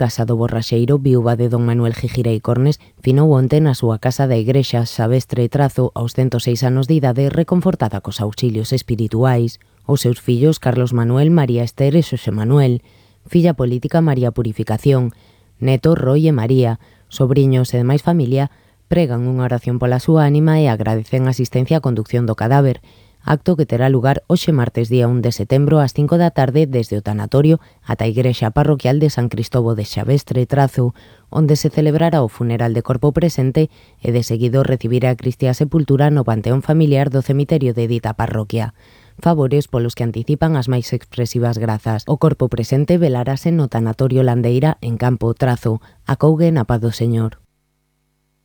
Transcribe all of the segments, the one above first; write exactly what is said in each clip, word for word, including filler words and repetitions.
Casa do Borraxeiro, viúva de don Manuel Gijirei Cornes, finou onte na súa casa da igrexa Xabestre Trazo aos ciento seis anos de idade, reconfortada cos auxilios espirituais. Os seus fillos Carlos Manuel, María Ester e Xosé Manuel, filla política María Purificación, neto Roy e María, sobriños e demais familia, pregan unha oración pola súa ánima e agradecen a asistencia á conducción do cadáver, acto que terá lugar hoxe martes día un de setembro ás cinco da tarde desde o tanatorio ata a igrexa parroquial de San Cristobo de Xabestre Trazo, onde se celebrará o funeral de corpo presente e de seguido recibirá a Cristia sepultura no panteón familiar do cemiterio de dita parroquia. Favores polos que anticipan as máis expresivas grazas. O corpo presente velarase no tanatorio Landeira en Campo Trazo, acougue na paz do Señor.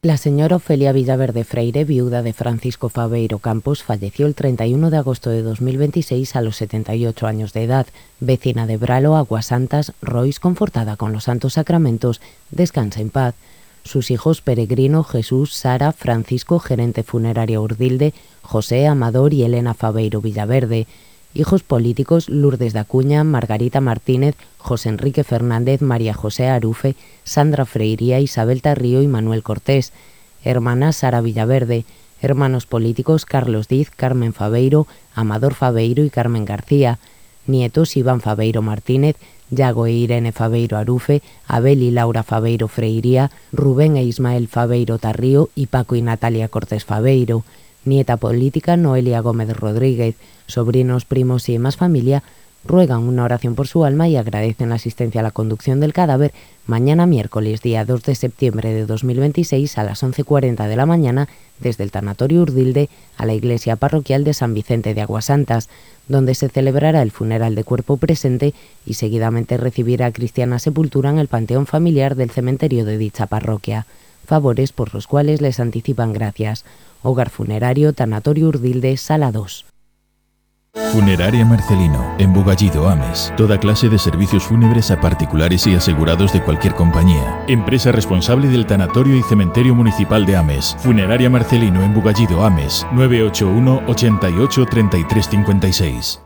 La señora Ofelia Villaverde Freire, viuda de Francisco Faveiro Campos, falleció el treinta y uno de agosto de dos mil veintiséis a los setenta y ocho años de edad. Vecina de Bralo, Aguasantas, Rois, confortada con los santos sacramentos, descansa en paz. Sus hijos Peregrino, Jesús, Sara, Francisco, gerente funeraria Urdilde, José, Amador y Elena Faveiro Villaverde. Hijos políticos Lourdes da Cuña, Margarita Martínez, José Enrique Fernández, María José Arufe, Sandra Freiría, Isabel Tarrío y Manuel Cortés. Hermana Sara Villaverde. Hermanos políticos Carlos Diz, Carmen Faveiro, Amador Faveiro y Carmen García. Nietos Iván Faveiro Martínez, Yago e Irene Faveiro Arufe, Abel y Laura Faveiro Freiría, Rubén e Ismael Faveiro Tarrío y Paco y Natalia Cortés Faveiro. Nieta política Noelia Gómez Rodríguez. Sobrinos, primos y demás familia ruegan una oración por su alma y agradecen la asistencia a la conducción del cadáver mañana miércoles día dos de septiembre de dos mil veintiséis a las once cuarenta de la mañana desde el tanatorio Urdilde a la iglesia parroquial de San Vicente de Aguasantas, donde se celebrará el funeral de cuerpo presente y seguidamente recibirá cristiana sepultura en el panteón familiar del cementerio de dicha parroquia. Favores por los cuales les anticipan gracias. Hogar funerario, tanatorio Urdilde, sala dos. Funeraria Marcelino, en Bugallido, Ames. Toda clase de servicios fúnebres a particulares y asegurados de cualquier compañía. Empresa responsable del Tanatorio y Cementerio Municipal de Ames. Funeraria Marcelino, en Bugallido, Ames. nueve ocho uno, ochenta y ocho, treinta y tres cincuenta y seis.